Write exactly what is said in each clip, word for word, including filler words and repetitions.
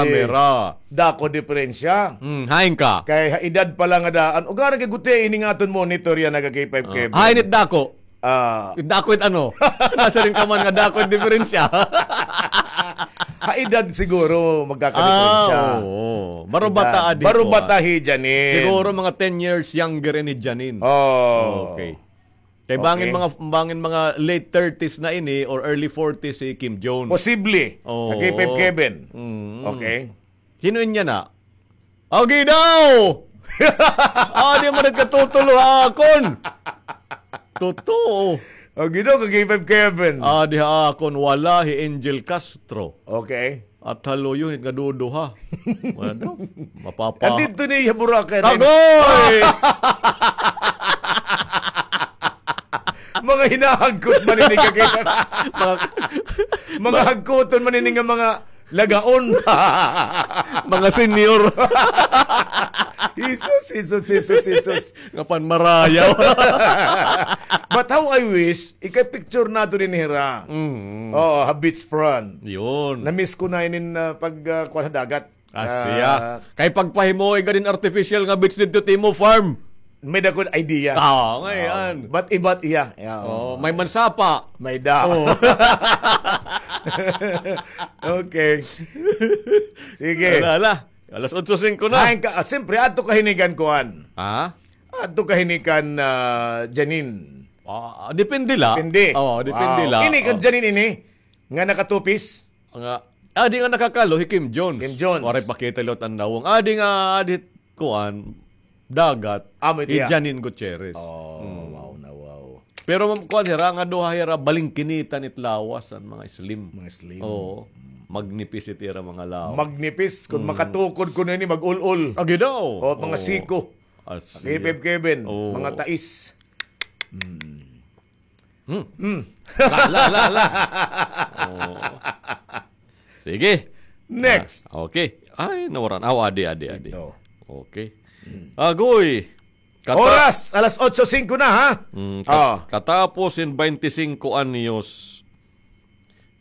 Camera. Dako diferensya. Hmm, hain ka? Kay ha edad pa la nga daan. Ugaran kay guti ini nga aton monitor yana, ka K five Kevin. Hain it dako? Ah. It dako it ano? Nasiring ka man nga dako it diferensya. Ha edad siguro magkakadiferensya. Ah, oo. Baro bata adi ko, ah. Baro bata hi Janine. Siguro mga ten years younger ini Janine. Oh. Okay. Kay bangin mga, bangin mga late thirties na ini or early forties si Kim Jong. Posible. Oo. Ka K five Kevin. Mm. Okay. Sino inya na? Agi daw! Adi man it katutulo ha akon. Totoo. Agi daw, ka K five Kevin. Adi ha akon, wala hi Angel Castro. Okay. At haluyon it nga duduha. Wala daw. Mapapa- Andito ni Boracay. Agoy! Mga hinahagkot man ini ka kay mga, mga hagkoton man ini nga mga lagaon. Mga senior. Jesus, Jesus, Jesus, Jesus. Nga panmarayaw. But how I wish, ikay-picture nato dinhi hira. Mm. Oo, ha beach front. Yun. Na-miss ko na inin, ah, pag, ah, kuwan ha dagat. Ah, siya. Kay pagpahimuoy ka din artificial nga beach didto Timo Farm. May dakon idea. Oo, ngayon. Oo. But iba't iya. Yeah, oo. May mansapa. May da. Oo. Okay. Sige. Ala, ala. Alas otso singko na. Ay, ka, ah, siyempre, adto ka hini kan kuan. Ha? Adto ka hini kan, ah, Janine. Ah, depende la. Depende. Oo, depende la. Ini kan Janine ini, nga nakatupis. Nga, adi nga nakakalo, hi Kim Jones. Kim Jones. Waray pakita liwat an nawong. Adi nga, adi kuan, dagat, hi Janine Gutierrez. Oh, wow na, wow. Pero kuan hira, nga duha hira, balingkinitan it lawas, an mga slim. Mga slim. Oo. Magnipis it ira mga lawas. Magnipis, kun makatukod kuno ini, mag-ul-ul. Agi daw. O, mga siko. Kevin, mga tais. Hmm. Hmm. La, la, la, la. Oo. Sige. Next. Ah, okay. Ay, nawaran. Aw, adi, adi, adi. Ito. Okay. Hmm. Agoy. Kata- Oras, alas otso singko na, ha? Mm, kat- katapos in baynte singko anyos,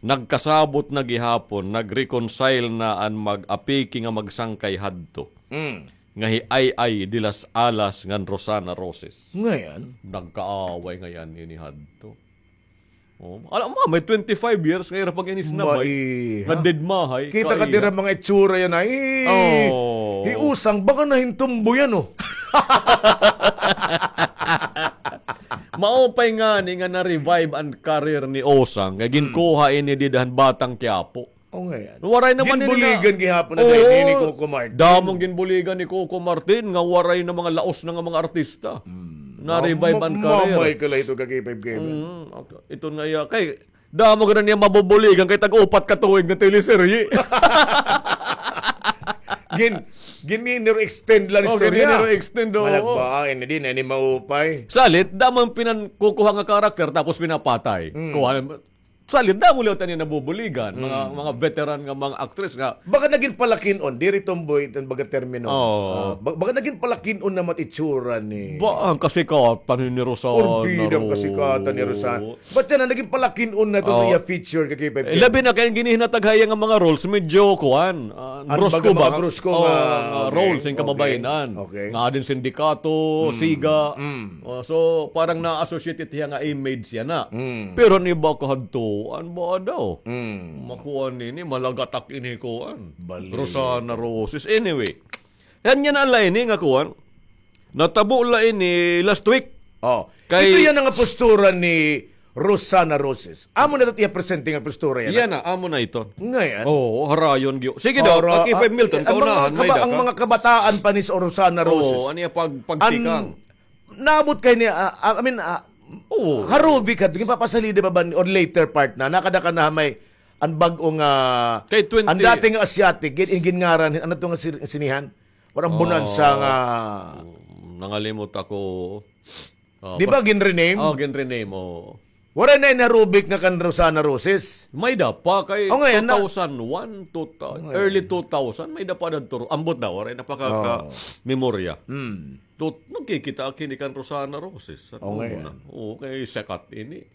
nagkasabot na gihapon, nag-reconcile na an mag-apiki nga magsangkay hadto. Mm. Nga hi Ay Ay de las Alas ngan Rosana Roses. Ngayon? Nagkaaway ngayon ini hadto. Oh, alam mo, may twenty-five years nga ira pag-inisnabay. Nga dead mahay. Kita ka dira mga itsura yana, eh. Oh. Hi Usang, baka nahintumbo yan, oh. Maupay ngani nga na-revive an career ni Usang, kay ginkuha ini dida han Batang Quiapo. O, ngayon. Waray naman ini na. Ginbuligan gihapon na ini ni Coco Martin. Damong ginbuligan ni Coco Martin nga waray na mga laos na nga mga artista. Mm. Na-revive an career. Mamay ka la ito ka K five Kevin. Mm, okay. Ito nga iya. Kay, damo ka na niya mabubuligan kay tag-upat ka tuig nga teleserye. Gin, gin-, gin-extend lang istorya. Gin-extend, oo. Malagba, ini di na, ini maupay. Salit, damo an pinankukuha nga karakter tapos pinapatay. Mm. Kuha, Salit, damo liwat an iya nabubuligan, mga, mga veteran nga mga aktres nga. Baka nagin palakin-on, diri tomboy, iton baga termino. Oo. Ah, ba-, baka nagin palakin-on na mat-itsura ni. Ba, an kasikatan ni Rosana Roses. Orbida an kasikatan ni Rosana. Ba't yan, nagin palakin-on na ito iya feature ka K five Kevin? Labi na kay an ginhihinatag ha iya nga mga roles, medyo kuan, ah, brusko ba? Brusko nga roles, an kababayen-an. Okay. Nga adin sindikato, siga. Oh, so, parang na-associate it hiya nga image yana. Mm. Pero an iba kahadtoan, ba daw? Mm. Makuan ini, malagatak ini kuan. Rosana Roses. Anyway, yan yana la ini nga kuan. Natabo la ini last week. Oh, kay ito yana nga postura ni Rosana Roses. Amo na ito iya presente nga postura yana. Yana, amo na ito. Ngayon. Oo, harayon gyo. Sige daw, K five Milton, kaunahan, may daka. Ang mga kabataan pa ni Rosana Roses. Oo, ano iya pag-, pagtikang? Naabot kay ni, ah, ah, I mean, ah, harubik hadto, ginpapasalida pa ba ni, or later part na, nakada ka na may, an bag-o nga, kay twenty, an dati nga Asiatic, gin-, gingngaran, ano to nga si-, sinihan? Parang Bonanza nga. Nangalimot ako. Di ba gin-rename? Oh, gin-rename, oo. Waray na ini harubik nga kan Rosana Roses. May-ada pa kay two thousand one, two thousand, early two thousand, may-ada pa dadto. Ambot daw, waray na pa ka-, ka-memorya. Mm. Tut-, nagkikita ak ini kan Rosana Roses. Oo, kay sakat ini.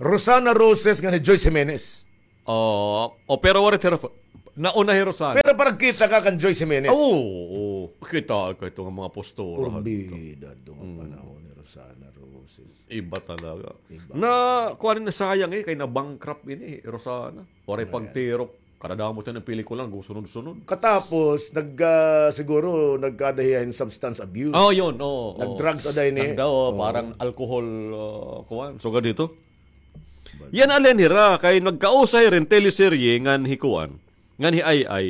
Rosana Roses nga ni Joyce Jimenez. Oh, oh, pero waray tira pa-, Nauna hi Rosana. Pero para kita ka kan Joyce Jimenez. Oo, oo. Kita ka ito nga mga postura. Porbida ito nga panahon ni Rosana Roses. Iba talaga. Iba. Na, kuan, na sayang eh, kay na-bankrupt ini, Rosana. Waray pagtirok. Kadadamo ta nga pelikula, gusunod-sunod. Katapos, nag, ah, siguro, nagkada hiya hin substance abuse. Oh, yun, oo. Nag-drugs ada ini. Nagda, oh, parang alcohol, ah, kuan. So, ganito. Yana la hira, kay nagkausa hira hin teleserye ngan hi kuan, ngan hi Ai Ai.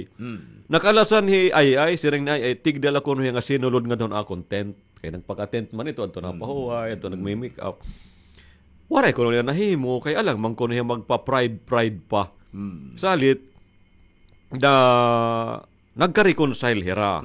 Nakalasan hi Ai Ai, siring ni Ai Ai, tigda la kuno hiya nga sinulod ngadto ha akon tent. Kay nagpaka-tent man ito, adto napahuway, adto nagme-make up. Waray kuno niya nahimo, kay alang man kuno hiya magpa-pride, pride pa. Salit, da, nagka-reconcile hira.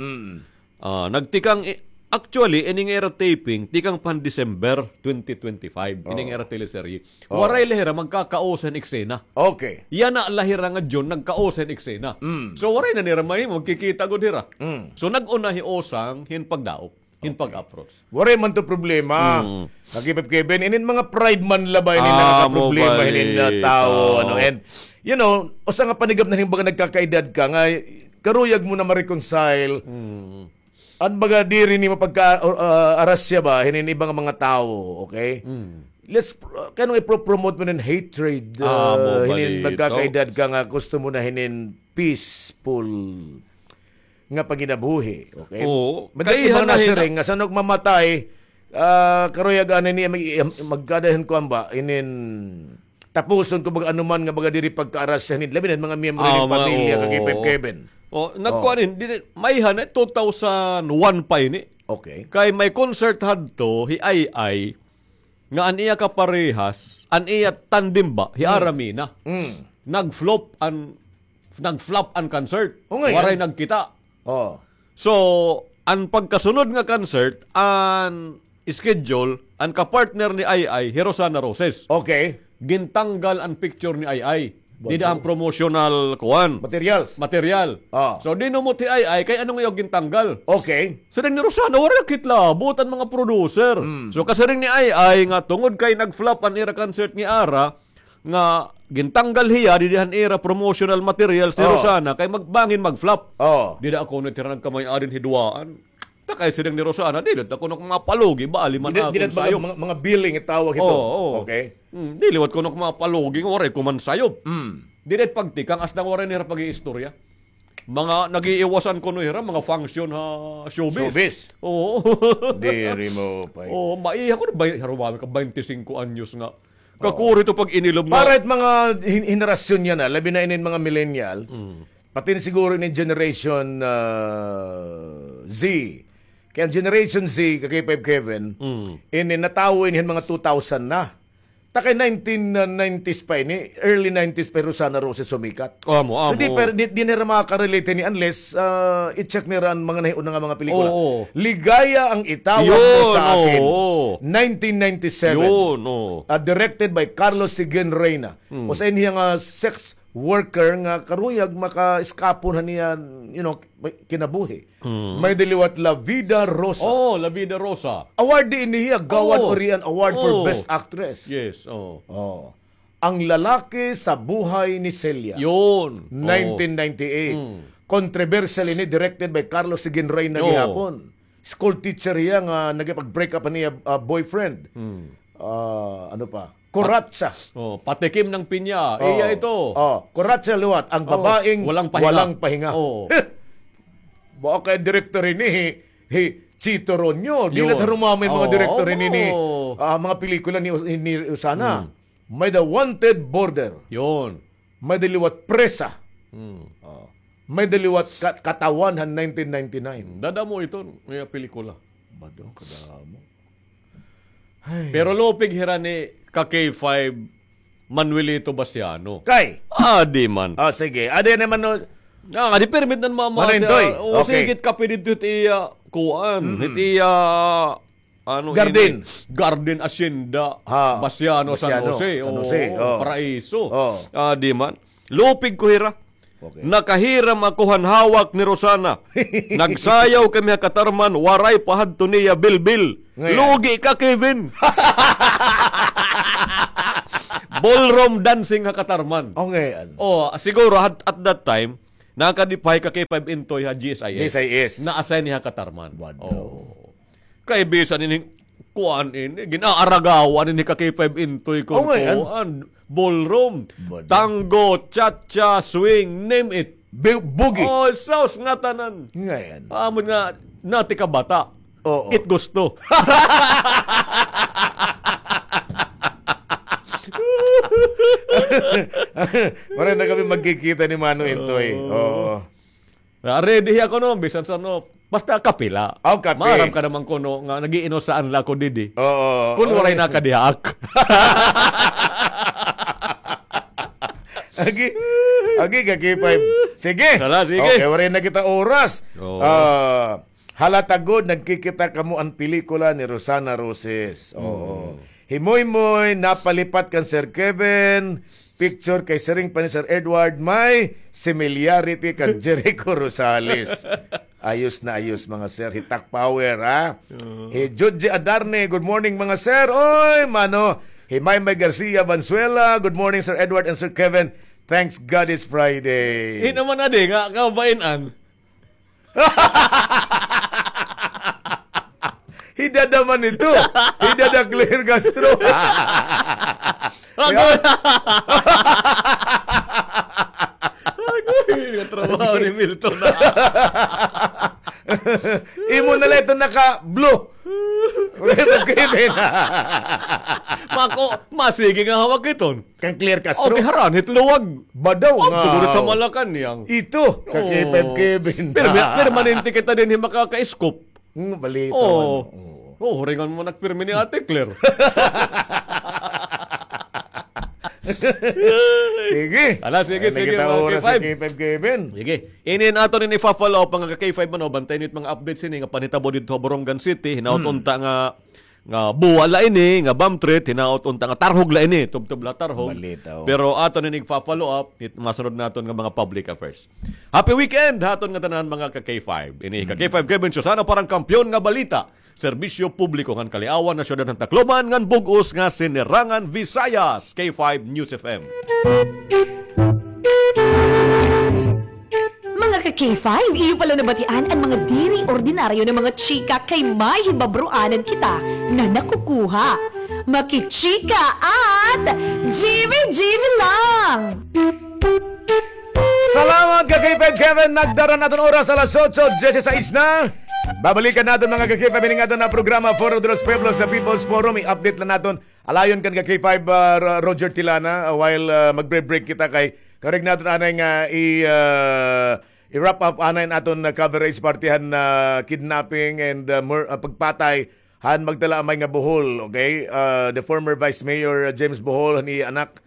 Ah, nagtikang i-, actually, ini nga ira taping, tikang pa han December twenty twenty-five, ini nga ira teleserye. Waray la hira magkakausa hin eksena. Okay. Yana la hira nga June, nagkausa hin eksena. So, waray na nira mahimo, magkikita gud hira. So, nag-una hi Osang hin pagdaop, hin pag-approach. Waray man to problema. Kakipip Kevin, inin mga pride man la ba inin nakakaproblema hinin na tawo, ano, and, you know, usa nga panigap na hin baga nagkakaedad ka nga, karuyag mo na ma-reconcile. An baga diri nimo pagka, uh, arasya ba, hinin iba nga mga tawo, okay? Let's, uh, kanang ipro-promote mo nin hatred, uh, hinin nagkakaedad ka nga gusto mo na hinin peaceful nga panginabuhi, okay? Oo. Madali kay mga nasiring nga san-o ak mamatay, ah, karuyag ani niya mag-, magkada hin kuan ba, inin tapuson ko baga anuman nga baga diri pagkaarasya hinin, labi na mga miyembro hinin pamilya, oo, Kakipip Kevin. Oh, nagkuan hin, diri, may hana, two thousand one pa ini. Okay. Kay may concert hadto, hi Ai Ai, nga an iya kaparehas, an iya tandem ba, hi Ara Mina. Nag-flop an, nag-flop an concert. Waray nagkita. Oh. So, an pagkasunod nga concert, an schedule, an kapartner ni Ai Ai, hi Rosana Roses. Okay. Gintanggal an picture ni Ai Ai. Dida han promotional kuan. Materials. Material. Ah. So, dinumot hi Ai Ai, kay ano nga gintanggal? Okay. Siring ni Rosana, waray kitlabot an mga producer. So, kasiring ni Ai Ai nga tungod kay nag-flop an ira concert ni Ara, nga gintanggal hiya didi han ira promotional materials ni Rosana kay mag-, bangin mag-flop. Dida ako no tira nagkamay-adin hiduaan. Ta kay siring ni Rosana, dili ta kuno mapalugi, bali man akon sayop. Mga, mga billing itawag ito. Oo, oo. Okay. Dili liwat kuno mapalugi, waray ko man sayop. Dili pagtikang, asdang waray nira pag-iistorya. Mga nag-iiwasan kuno hira, mga function ha showbiz. Showbiz. Oo. Diri mo pa. Oo, maiha ko na, harumami ka, twenty-five anyos nga. Kakuri to pag inilob nga. Para it mga hin-, henerasyon niya na, labi na inin mga millennials, pati na siguro inin generation, ah, Z. Kay an generation Z, Kakipip Kevin, ini natawo ini han mga two thousand na. Ta kay nineteen nineties pa ini, early nineties pa hi Rosana Roses sumikat. Amo, amo. So, di, pero di, di nira makaka-relate ini unless, ah, i-check nira an mga nahiuna nga mga pelikula. Oo. Ligaya ang Itawag Mo Sa Akin, nineteen ninety-seven. Yun, oo. Ah, directed by Carlos Seguin Reyna. Usa ini nga sex worker nga karuyag maka-eskapon han iya, you know, kinabuhi. May-ada liwat La Vida Rosa. Oh, La Vida Rosa. Award ini hiya, Gawad Orian Award for Best Actress. Yes, oh. Oh. Ang Lalaki sa Buhay ni Celia. Yun. Nineteen ninety-eight. Controversial ini, directed by Carlos Seguin Reyna gihapon. School teacher hiya nga nagipag-break up an iya, ah, boyfriend. Ah, ano pa? Kuratsa. Oh, Patikim ng Pinya. Iya ito. Oh, Kuratsa liwat, ang babaeng walang pahinga. Oh. Baka kay direktor ini, hi, hi Chito Ronyo. Dili ta harumami mga direktor ini ni, ah, mga pelikula ni, ni Rosana. May The Wanted Border. Yun. May-ada liwat Presa. Oh. May-ada liwat Ka-, Katawan han nineteen ninety-nine. Dadamo ito, may pelikula. Bado, kadamo. Ay. Pero lupig hira ni ka K five, Manuelito Basiano. Kay? Adi man. Ah, sige. Adi naman, no. Ah, adi permit nan mama. Manintoy. O, okay. Sige, kape dito it iya, kuan. It iya, ano, garden. Ini, garden hacienda, ha, Basiano, San Jose. San Jose, oh. Paraiso. Oh. Adi man. Lupig ko hira. Okay. Nakahiram ako han hawak ni Rosana. Nagsayaw kami ha Catarman, waray pa hadto niya bilbil. Ngayon. Lugi ka, Kevin. Ballroom dancing ha Catarman. Okay, ano? Oh, siguro at, at that time, Nakadipahi ka K five Intoy ha G S I S. G S I S. Na-assign ni ha Katarman. Wadaw. Oh. Kay bisan ini, kuan ini, gin-aaragawan ini ka K five Intoy kon kuan, ballroom, tango, cha-cha, swing, name it. Bu-, boogie. Oh, sus, ngatanan. Ngay-an. Amo nga, nati ka bata. Oo. It gusto. Waray na kami magkikita ni Mano Intoy. Oo. Ah, ready ako, no, bisan sa, no, basta kapila. Oh, kape. Maaram ka naman kuno nga nag-iinusaan la ako didi. Oo. Kun waray na ka diha, ak. Agi, agi ka K five. Sige. Hala, sige. Okay, waray na kita oras. Oo. Ah, halata gud, nagkikita kamo an pelikula ni Rosana Roses. Oo. Mm. Himoymoy, napalipat kan Sir Kevin. Picture kay siring pa ni Sir Edward, may similarity kan Jericho Rosales. Ayos na ayos, mga sir. Hitak power, ha? Oo. Hi Judge Adarne, good morning, mga sir. Oy, mano. Hi Maymay Garcia Valenzuela, good morning, Sir Edward and Sir Kevin. Thanks God it's Friday. Hin-o man adi nga kabain-an. Hidada man ito. Hidada Claire Castro. Agoy! Agoy, katrabaho ni Milton na. Imo na la ito naka-blue. Mako, masigi nga hawak iton. Kang Claire Castro. Oh, giharan hit luwag. Badaw nga. Pagkurit ha Malacañang. Ito, ka K five Kevin. Perma-, permanente kita dinhi makaka-scoop. Hmm, balita man. Oo. Oo, huringan mo nagpirmi ni Ate Claire. Sige. Ala, sige, sige, mga K five. K five Kevin. Sige. Ini an aton ini ifa-follow up, mga ka K five, ano, bantay niyo it mga updates ini nga panhitabo didto ha Borongan City, hinaot unta nga nga buwa la ini, nga bomb threat, hinaot unta nga tarhog la ini, tubtob la tarhog. Balita, oh. Pero aton ini igfa-follow up, it masunod naton nga mga public affairs. Happy weekend ha aton nga tanan, mga ka K five. Ini ka K five Kevin Susana para han Kampiyon nga Balita. Serbisyo publiko ngan kaliawan ha syudad han Tacloban ngan bug-os nga Sinirangan Visayas, K five News F M. Mga ka-K five, iyo pala nabatian an mga diri ordinaryo nga mga chika kay may hibabroanan kita nga nakukuha. Makichika at Jimmy Jimmy lang! Salamat, ka-K five Kevin. Nagdara an aton oras, alas otso dieciséis na. Babalikan naton, mga ka-K five, ining aton nga programa, Foro de los Pueblos, The People's Forum. I-update la naton. Alayon kan ka-K five, ah, Ro-, Roger Tilana, ah, while, ah, magbre-break kita kay karuyag naton anay nga i-, ah, i-wrap up anay an aton, ah, coverage parte han, ah, kidnapping and, ah, mur-, ah, pagpatay han magtalaamay nga Bohol, okay? Ah, the former Vice Mayor, ah, James Bohol, han iya anak,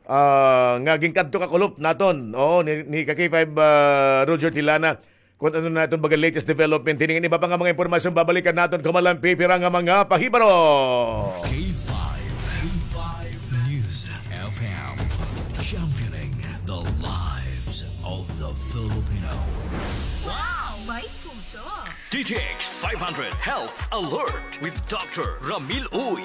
ah, nga ginkadto kakulop naton, oo, ni, ni ka-K five, ah, Roger Tilana. Kun ano na iton baga latest development, hini ngan iba pa nga mga impormasyon, babalikan naton kamalan pipira nga mga pahibaro. K five, K five News F M, championing the lives of the Filipino. Wow! May puso! D T X five hundred Health Alert with Doctor Ramil Uy.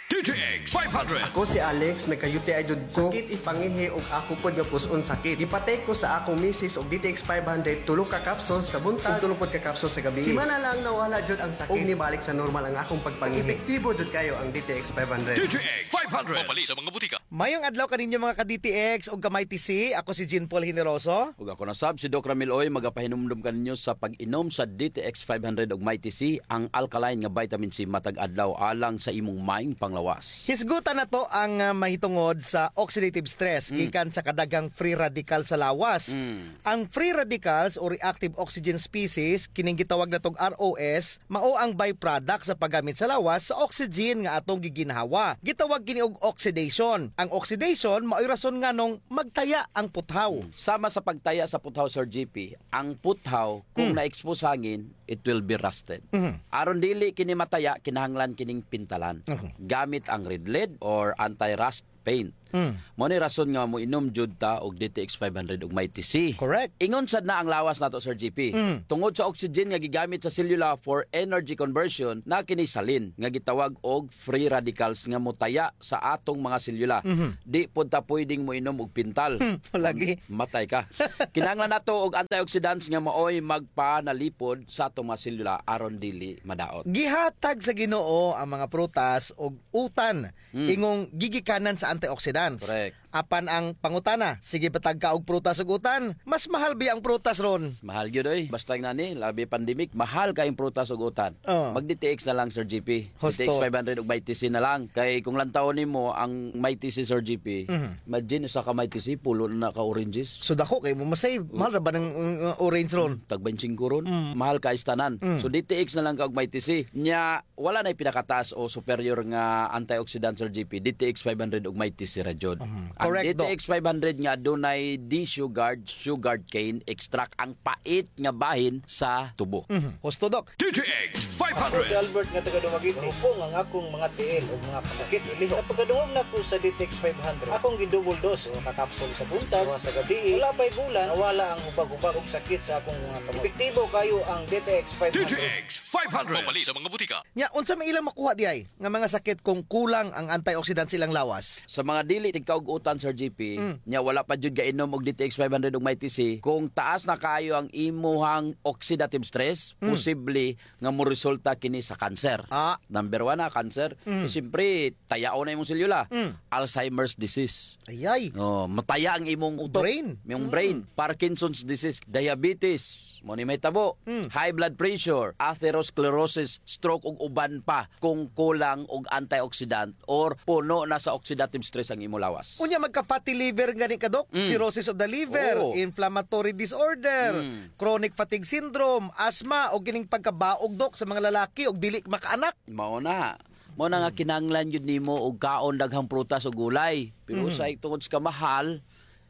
D T X five hundred. Ako si Alex, nagka-U T I jud ko. Sakit it pangihi ug ako pod nga pus-on sakit. Gipa-take ko sa akong misis og D T X five hundred, tulo ka capsules sa buntag, ug tulo pod ka capsules sa gabii. Semana lang nawala jud ang sakit. Ug nibalik sa normal ang akong pagpangihi. Epektibo jud kayo ang D T X five hundred. D T X five hundred. Mapalit sa mga butika. Mayong adlaw kaninyo, mga ka-D T X ug ka-Mighty C. Ako si Jean Paul Generoso. Ug ako na sab si Doc Ramil Uy, magapahinumdom kaninyo sa pag-inom sa D T X five hundred ug Mighty C, ang alkaline nga vitamin C matag adlaw alang sa imong maayong panglawas. Hisgutan nato ang, ah, mahitungod sa oxidative stress gikan sa kadaghang free radical sa lawas. Mm. Ang free radicals o reactive oxygen species, kining gitawag natog R O S, mao ang byproduct sa paggamit sa lawas sa oxygen nga atong giginhawa. Gitawag kini og oxidation. Ang oxidation mao'y rason nganong magtaya ang puthaw. Mm. Sama sa pagtaya sa puthaw, Sir G P, ang puthaw, kung na-expose hangin, it will be rusted. Mhm. Aron dili kini mataya, kinahanglan kining pintalan. Mhm. Gamit ang Red Lead or anti-rust paint. Mm. Mao ni rason nga moinom jud ta og D T X five hundred ug Mighty C. Correct. Ingon sad na ang lawas nato, Sir G P. Mm. Tungod sa oxygen nga gigamit sa selula for energy conversion, na kini salin nga gitawag og free radicals nga motaya sa atong mga selula. Mhm. Di pod ta pwedeng moinom og pintal. Hmm, lagi. Matay ka. Kinahanglan nato og antioxidants nga maoy magpanalipod sa atong mga selula aron dili madaot. Gihatag sa Ginoo ang mga prutas og utan, hmm, ingong gigikanan sa antioxidants. Correct. Apan ang pangutana, sige ba ta og prutas ug utan? Mas mahal biya ang prutas ron? Mahal gyud, oy. Basta nga ni, labi pandemic, mahal kay ang prutas ug utan. Oh. Mag-D T X na lang, Sir G P. Husto. D T X five hundred ug Mighty C na lang. Kay kung lantawon nimo ang Mighty C, Sir G P, mhm, imagine, usa ka Mighty C, pulo na ka oranges. So, dako kay mo masave. Oh. Mahal ra ba ng, uh, orange ron? Tag twenty-five ron. Mm. Mahal kay sa tanan. Mm. So, D T X na lang ka og Mighty C. Nya, wala na'y pinakataas o superior nga antioxidant, Sir G P, D T X five hundred ug Mighty C ra jud. Mhm. Ang correct, Doc. D T X five hundred nga adunay D-Sugard, sugarcane extract, ang pait nga bahin sa tubo. Mhm. Husto, Doc. D T X five hundred. Ako si Albert nga taga Dumaguete. Hupong ang akong mga tiil ug mga kasakit. Sa pagkadungog nako sa D T X five hundred, akong gi-double dose, usa ka kapsul sa buntag, usa sa gabii. Wala pa'y bulan, nawala ang hubag-hubag ug sakit sa akong mga kamot. Epektibo kayo ang D T X five hundred. D T X five hundred. Mapalit sa mga butika. Nya, unsa may ilang makuha diay nga mga sakit kung kulang ang antioxidant sa ilang lawas? Sa mga dili tigkaug-utan, Sir G P, mm, nya wala pa jud gainom og D T X five hundred ug Mighty C, kung taas na kaayo ang imuhang oxidative stress, mm, posible nga moresulta kini sa cancer. Ah. Number one na, cancer. Mm. So, siyempre, tayaon na imong selula. Mm. Alzheimer's disease. Ayay. Oh, mataya ang imong utok. Brain. Imong brain. Mm. Parkinson's disease, diabetes. Mao ni mahitabo. Mm. High blood pressure, atherosclerosis, stroke, ug uban pa kung kulang og antioxidant or puno na sa oxidative stress ang imo lawas. Unya, magka-fatty liver gani ka, Doc? Mm. Cirrhosis of the liver, oo, inflammatory disorder, mm, chronic fatigue syndrome, asthma, o kining pagkabaog, Doc, sa mga lalaki og dili makaanak. Mao na. Mao na nga, mm, kinahanglan gyud nimo og kaon daghang prutas o gulay. Pero, mhm, usahay tungod sa kamahal,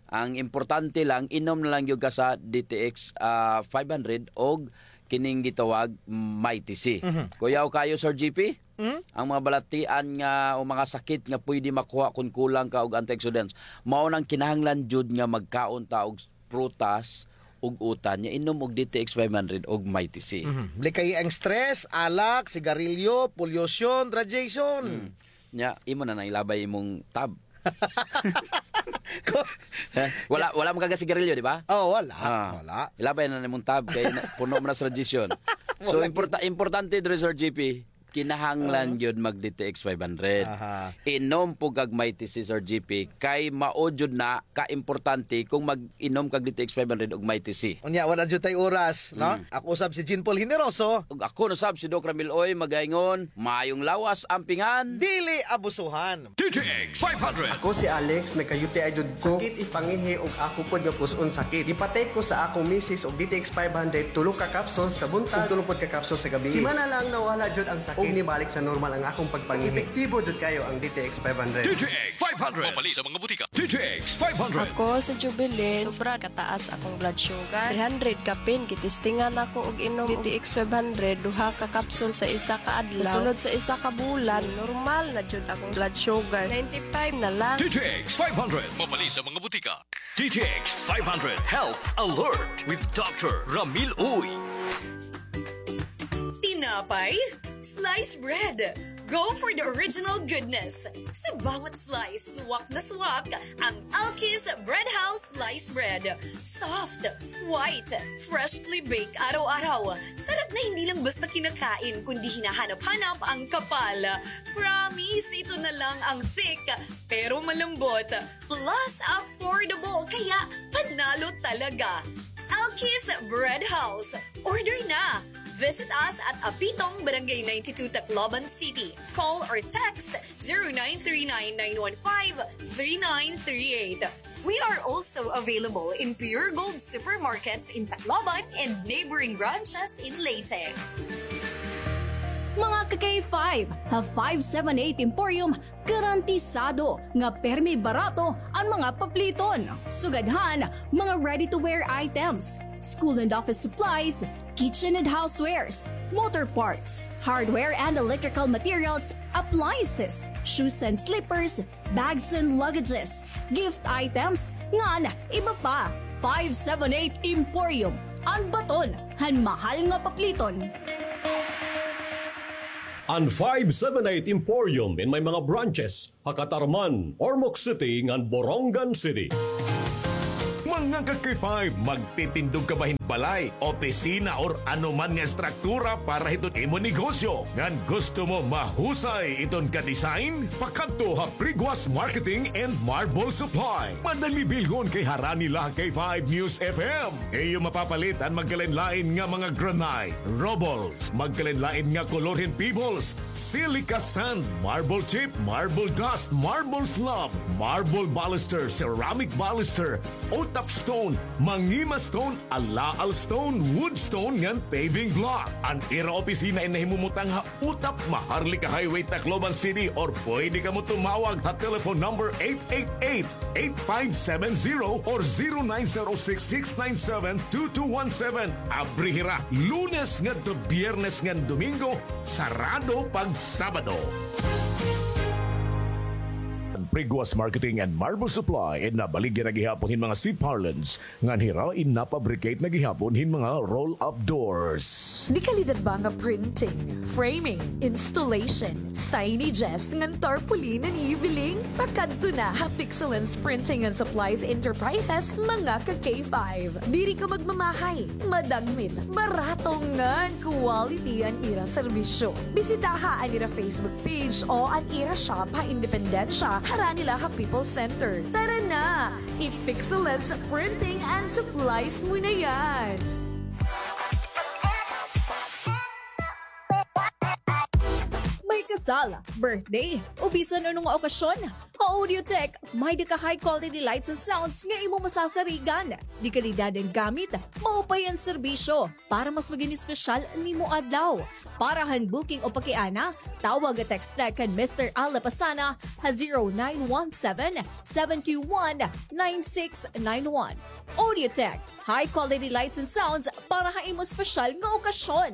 ang importante lang, inom na lang gyud ka sa D T X, ah, five hundred og kining gitawag Mighty C. Mhm. Kuyaw kayo, Sir G P? Mhm. Ang mga balatian nga o mga sakit nga pwede makuha kung kulang ka og antioxidants, mao nang kinahanglan jud nga magkaon ta og prutas ug utan, nya inom og D T X five hundred og Mighty C. Mhm. Likayi ang stress, alak, sigarilyo, polusyon, radiation. Mm. Nya, imo na nang ilabay imong tab. Ko- Eh, wala, wala man ka gasigarilyo, di ba? Oh, wala. Ah, wala. Ilabay na nimong tab kay na, puno man na sa radiation. So, wala importa-, importante diri, Sir G P, kinahanglan, ah, gyud mag D T X five hundred. Aha. Inom pod kag Mighty C, Sir G P, kay mao jud na ka importante kung mag-inom kag D T X five hundred ug Mighty C. Unya, wala jud tay oras, no? Mm. Ako usab si Jean Paul Generoso. Ug ako na sab si Doc Ramil Uy, magaingon, maayong lawas, ampingan. Dili abusuhan. D T X five hundred. Ako si Alex, nagka-U T I jud ko. Sakit it pangihi ug ako pod nga pus-on sakit. Gipatake ko sa akong misis og D T X five hundred, tulo ka capsules sa buntag ug tulo pod ka capsules sa gabii. Semana lang nawala jud ang sakit ug nibalik sa normal ang akong pagpangihi. Epektibo jud kayo ang D T X five hundred. D T X five hundred. Mapalit sa mga butika. D T X five hundred. Ako si Jubilin. Sobra kataas akong blood sugar. Three hundred kapin, gitistingan ako og inom D T X five hundred, duha ka kapsul sa isa ka adlaw. Kasunod sa isa ka bulan, normal na jud akong blood sugar. Ninety-five na lang. D T X five hundred. Mapalit sa mga butika. D T X five hundred Health Alert with Doctor Ramil Uy. Tinapay? Slice bread. Go for the original goodness. Sa bawat slice, swak na swak ang Alkis Bread House Slice Bread. Soft, white, freshly baked araw-araw. Sarap na hindi lang basta kinakain, kundi hinahanap-hanap ang kapal. Promise, ito na lang ang thick, pero malambot. Plus, affordable, kaya panalo talaga. Alkis Bread House. Order na! Visit us at Apitong, Barangay ninety-two, Tacloban City. Call or text zero nine three nine nine one five three nine three eight. We are also available in Pure Gold supermarkets in Tacloban and neighboring branches in Leyte. Mga ka-K five, ha five seven eight Emporium, garantisado nga permi barato an mga papliton. Sugad han mga ready-to-wear items, school and office supplies, kitchen and housewares, motor parts, hardware and electrical materials, appliances, shoes and slippers, bags and luggages, gift items, ngan iba pa. Five seven eight Emporium, an baton han mahal nga papliton. An five seven eight Emporium in may mga branches ha Catarman, Ormoc City, ngan Borongan City. Mga ka-K five, magtitindog ka ba hin balay, opisina, or anuman nga estruktura para hiton imo negosyo? Ngan gusto mo mahusay iton ka-design? Pakadto ha Priguas Marketing and Marble Supply. Madali bilhon kay harani la ha K five News F M. Iyo mapapalit an magkalain-lain nga mga granite, rubbles, magkalain-lain nga kolor hin pebbles, silica sand, marble chip, marble dust, marble slab, marble baluster, ceramic baluster, utap stone, mangima stone, alaal stone, wood stone, ngan paving block. An ira opisina in nahimumutang ha Utap, Maharlika Highway, Tacloban City, or pwede kamo tumawag ha telephone number eight eight eight, eight five seven zero or zero nine zero six, six nine seven, two two one seven. Abri hira Lunes ngadto Biyernes ngan Domingo, sarado pag Sabado. Priguas Marketing and Marble Supply, in nabaligya na gihapon hin mga C-parlance, ngan hira in napabricate na gihapon hin mga roll-up doors. Dekalidad ba nga printing, framing, installation, signages, ngan tarpaulin an ibiling? Pakadto na ha Pixelance Printing and Supplies Enterprises, mga ka-K five. Diri ka magmamahay, madagmit, barato ngan quality an ira serbisyo. Bisitaha an ira Facebook page o an ira shop ha Independencia, harani la ha People's Center. Tara na! I-Pixelance Printing and Supplies mo na yan! May kasal, birthday, o bisan ano nga okasyon, ha Audiotech, may-ada ka high quality lights and sounds nga imo masasarigan. Dekalidad an gamit, maupay an serbisyo. Para mas magin espesyal an imo adlaw. Para han booking o pakiana, tawag o text na kan Mister Al Lapasana ha zero nine one seven, seven two one, nine six nine one. Audiotech, high quality lights and sounds para ha imo espesyal nga okasyon.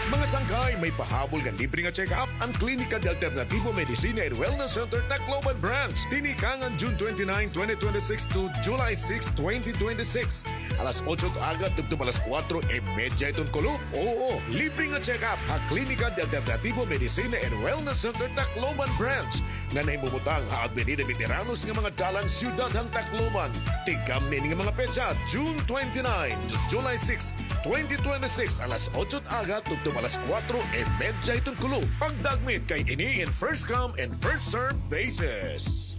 Mga sangkay, may pahabol nga libre nga check-up an Klinika de Alternativo Medicina and Wellness Center Tacloban Branch. Tinikangan June twenty-nine, twenty twenty-six to July six, twenty twenty-six. Alas otso it aga tubtob alas kuwatro y medya hiton kulop. Oo, libre nga check-up ha Klinika de Alternativo Medicina and Wellness Center Tacloban Branch. Nga nahimumutang ha Avenida Veteranos nga mga dalan, siyudad han Tacloban. Tigamni ini nga mga petsa, June twenty-nine to July six, twenty twenty-six, alas otso it aga tubtob alas kuwatro y medya hiton kulop. Pagdagmit kay ini in first come and first serve basis.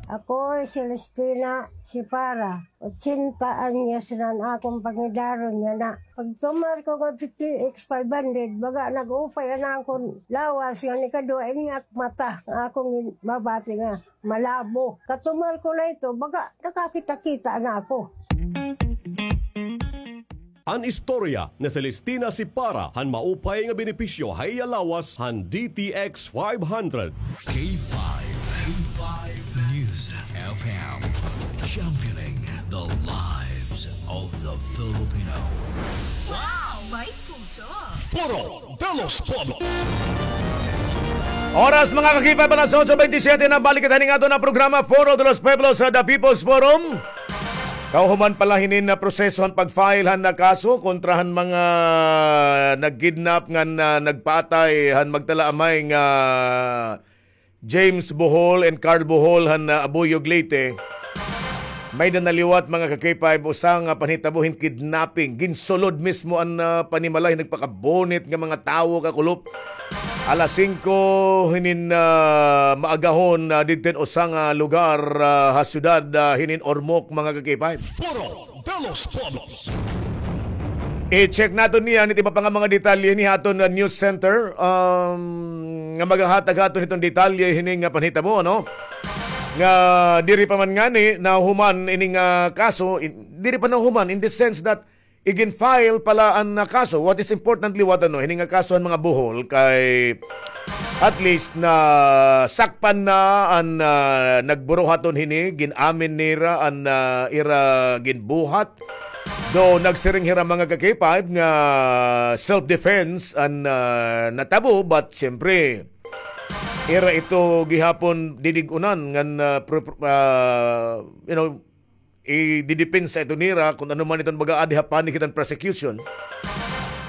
Ako hi Celestina Sipara. Ochenta anyos na an akon pangidaron yana. Pagtumar ko ngadto T X five hundred, baga nag-upay an akon lawas nga nikaduha, ini ak mata nga akon mabati nga malabo. Katumar ko na ito, baga nakakita-kita na ako. An istorya ni Celestina Sipara han maupay nga benepisyo ha iya lawas han D T X five hundred. K five, K five News F M, championing the lives of the Filipino. Wow, may puso! Foro de los Pueblos. Oras, mga ka-K five, alas otso bentisiete na, balik kita hining aton nga programa, Foro de los Pueblos, sa The People's Forum. Kahuman pa la hinin nga proseso han pag-file han kaso kontra han mga nag-kidnap ngan nagpatay han magtalaamay nga James Bohol and Carl Bohol han, ah, Abuyog, Leyte. May-ada na liwat, mga ka-K five, usa nga panhitabo hin kidnapping. Ginsulod mismo an, ah, panimalay, nagpakabunit nga mga tawo, kakulop. Alas singko hinin, ah, maagahon, ah, didto hin usa nga lugar, ah, ha siyudad, ah, hinin Ormoc, mga ka-K five. Foro de los Pueblos. I-check naton niyan it iba pa nga mga detalye hini ha aton, ah, news center, um, nga magahatag ha aton hiton detalye hini nga panhitabo, ano? Nga diri pa man ngani nahuman ini nga kaso, in-, diri pa nahuman in the sense that igin-file pa la an, ah, kaso. What is important liwat, ano, hini nga kaso han mga Bohol kay At least nasakpan na an, ah, nagburuhaton hini, gin-amin nira an, ah, ira ginbuhat. Though nagsiring hira mga ka-K five nga self-defense an, ah, natabo, but siyempre, ira ito gihapon didig-unan ngan, ah, pro-, pro-, ah, you know, ididepensa ito nira kung ano man iton baga adi ha panig hiton prosecution.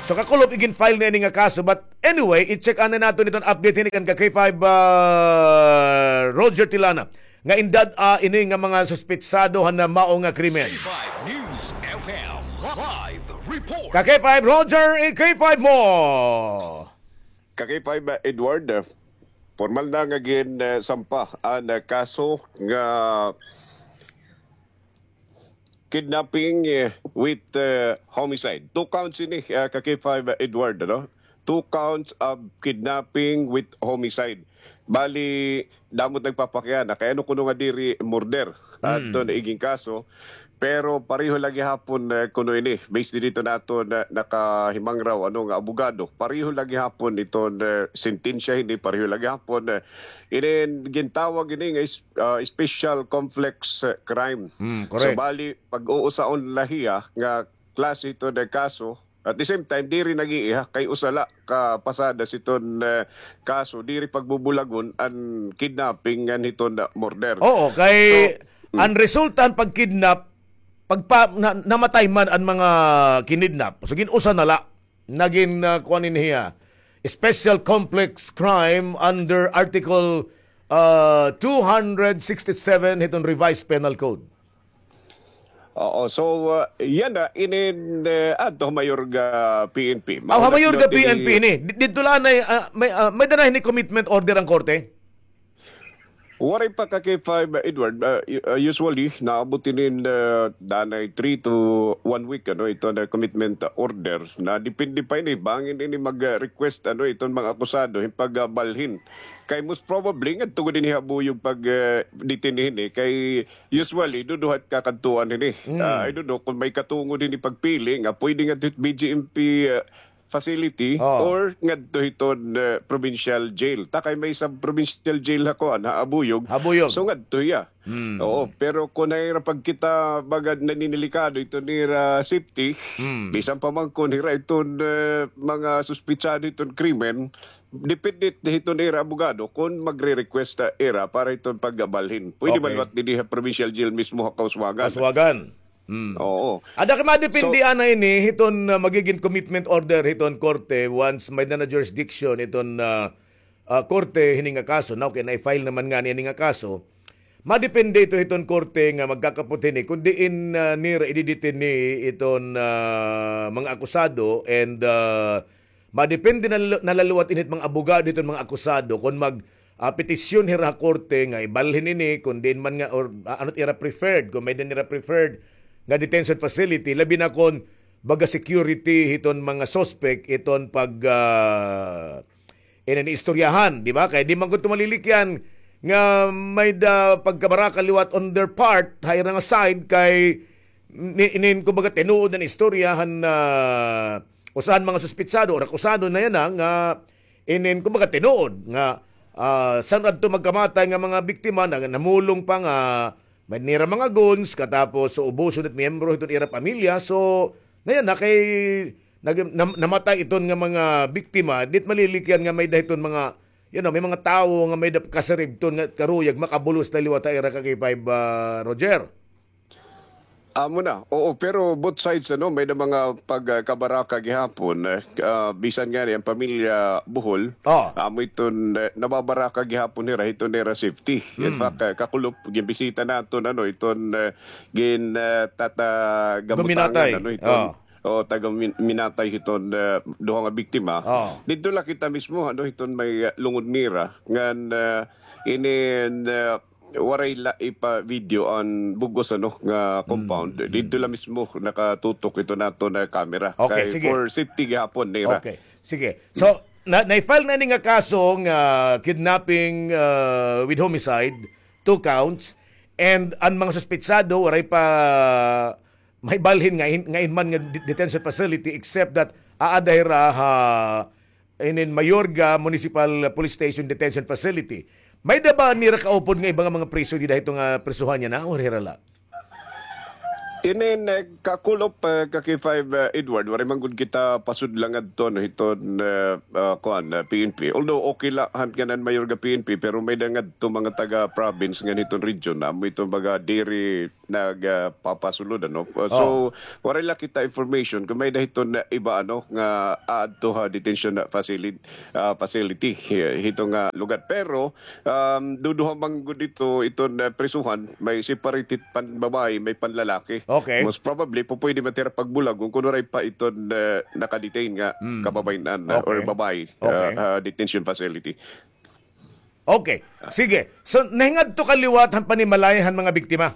So, kakulop, igin-file na ini nga kaso. But anyway, i-check anay naton iton update hini kan ka K five, ah, Roger Tilana, nga indad-a ini nga mga suspetsado han mao nga krimen. K five News F M live report. Ka K five Roger, i-K five mo. Ka K five, ah, Edward, ah, formal na nga gin, ah, sampa an, ah, kaso nga kidnapping, eh, with, eh, homicide. Two counts ini, ah, ka K five, ah, Edward, ano? Two counts of kidnapping with homicide. Bali, damo it nagpapakiana kay ano kuno nga diri murder. Mm. Adto na igin kaso. Pero pareho la gihapon, eh, kuno ini. Based dito naton, eh, nakahimangraw, ano, nga abogado. Pareho la gihapon iton, eh, sentensya hini, pareho la gihapon, eh, inin gintawag ini nga is-, ah, special complex, eh, crime. Mm, so, correct. Bali, pag-uusaon la hiya nga klase ito nga kaso, at the same time, diri nag-iiha, kay usa la ka pasada siton, eh, kaso, diri pagbubulagon an kidnapping ngan hiton, ah, murder. Oo, kay so, mm, an resulta han pagkidnap, pagpa-, na-, namatay man an mga kinidnap. So, gin-usa na la. Nagin, ah, kuan ini hiya, special complex crime under Article, ah, two hundred sixty-seven hiton Revised Penal Code. Oo, so, ah, yana, inin, eh, adto ha mayor nga P N P. Aw, ha mayor nga P N P ini. Di-, didto la anay, ah, may, ah, may-ada na hini commitment order an korte? Waray pa ka K five, Edward. Ah, u-, ah, usually, naabot inin, ah, danay three to one week, ano, ito nga commitment order. Na depende pa ini, bangin ini mag-request, ano, iton mga akusado, hin pagbalhin. Kay most probably, ngadto gud ini ha buyog pag, ah, detain hini. Kay usually, duduha it kakadtuan hini. Mm. Ah, I don't know kung may katungod hini pagpili, nga pwede ngadto hit B J M P, ah, facility, oh, or ngadto hiton, eh, provincial jail. Ta kay may sub-provincial jail ha kuan, ha Abuyog. Abuyog. So, ngadto hiya. Hmm. Oo, pero kun hira pagkita, baga, naninilikado iton ira safety, hmm, bisan pa man kun hira iton, eh, mga suspetsado hiton krimen, depende hiton ira abogado kun magre-request, ah, ira para hiton pagbalhin. Pwede man, okay, liwat dinhi ha provincial jail mismo ha Kauswagan. Kauswagan. Hmm. Oo. Ada kay madepende, so, ana ini hiton, ah, magigin commitment order hiton korte once may-ada na jurisdiction hiton, ah, ah, korte hini nga kaso. Now, kay na-file naman ngani ini nga kaso. Madepende ito hiton korte nga magkakapot hini kun diin, ah, nira ididetini iton, ah, mga akusado and, ah, madepende na, na la liwat ini hit mga abogado hiton mga akusado kun mag, ah, petisyon hira ha korte nga ibalhin ini, kun diin man nga, or, ah, ano it ira preferred, kun may-ada nira preferred nga detention facility, labi na kun baga security hiton mga suspect, iton pag, ah, ini istoryahan, di ba? Kay di man gud ito malilikyan nga may-ada pagkabaraka liwat on their part, ha ira nga side, kay ni-, inin, kumbaga, tinuod an istorya han, ah, usa han mga suspetsado or akusado na yana nga inin, kumbaga, tinuod nga, ah, san-o adto magkamatay nga mga biktima na namulong pa nga may nira mga goons, katapos so ubuson it miyembro hiton ira pamilya. So, na yana kay nag-, nam-, namatay iton nga mga biktima, di it malilikyan nga may-ada hiton mga, you know, may mga tawo nga may-ada kasiribton nga karuyag makabulos na liwat ha ira ka K five, ah, Roger. Amo na. Oo, pero both sides, ano, may-ada mga pagkabaraka gihapon, eh, ah, bisan ngani an pamilya Bohol, oh, amo iton, eh, nababaraka gihapon hira hiton ira safety. In, hmm, fact, eh, kakulop, ginbisita naton, ano, iton, eh, gin, eh, tata-, gabutangan, guminatay, ano, iton, oh, o, taga Min-, Minatay hiton, eh, duha nga biktima. Oh. Didto la kita mismo, ano, hiton may, eh, lungod nira. Ngan, eh, inin, eh, waray la ipa-video an bug-os, ano, nga compound. Mm, mm. Didto la mismo nakatutok iton aton camera. Okay, sige. Kay for safety gihapon nira. Okay, sige. So, na, na-file na ini nga kaso nga kidnapping, uh, with homicide, two counts, and an mga suspetsado waray pa mahibalhin nga in, nga in man nga de-, detention facility, except that aada hira ha inin Mayorga Municipal Police Station Detention Facility. May-ada ba nira kaupod nga iba nga mga priso dida hito nga prisuhan niya na, o hira la? Inin, eh, kakulop, eh, ka K five, eh, Edward, waray man gud kita pasudla ngadto, no, hiton, eh, ah, kuan, eh, P N P. Although okay la han kanan Mayorga P N P, pero may-ada ngadto mga taga-province ngan hiton region, amo iton baga diri nag, ah, papasulod, ano. Uh, so, waray la kita information kon may-ada hiton iba, ano, nga aadto ha detention facility, ah, facility, eh, hito nga lugar. Pero, um, duduha man gud ito, iton, ah, prisuhan, may separated pan babae, may panlalaki. Okay. Most probably, pupwede man hira pagbulagon kon waray pa iton, ah, nakadetain nga kababayen-an, ah, or babae, ah, ah, detention facility. Okay. Sige. So, nahingadto ka liwat han panimalay han mga biktima?